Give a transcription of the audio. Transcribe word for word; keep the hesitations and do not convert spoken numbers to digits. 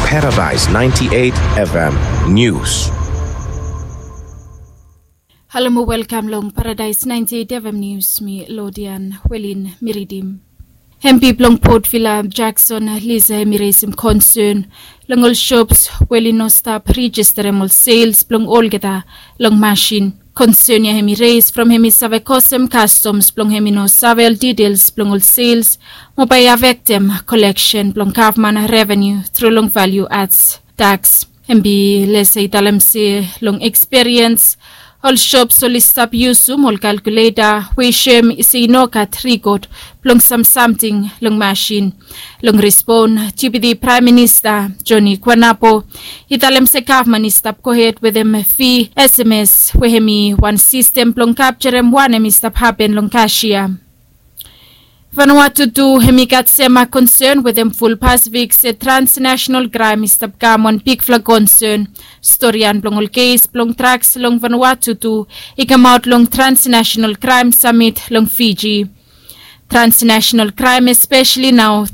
Paradise ninety-eight F M News. Halo mo welkam long Paradise ninety-eight F M News, mi Lodian Welin mi ridim. Hempi blong Port Vila Jackson Lisa hemi reisim konsern long ol shops we oli no stap rejisterem ol sales blong olgeta long masin. Konsern ya hemi reis from hemi save kosem kastoms blong hemi no save ol details blong ol sales mo bae i afektem koleksen blong gavman revenu tru long value adds tax. Hemi lesa i talem se long eksperiens ol shops oli stap yusum ol kalkuleta we i soem se i no gat rikod blong sam samting long masin. Long respon, Deputy Praem Minista Joni Kuanapo i talem se gavman i stap gohed wetem fi sms we hemi wan sistem blong kapjarem wanem i stap hapen long kasia. Vanuatu tu hemi gat sema konsern wetem ful Pasifik se transnational kraem i stap kam wan bigfala konsern. Storian blong ol kes blong draks long Vanuatu tu i kamaot long transnational kraem samit long Fiji. Transnational kraem espeseli nao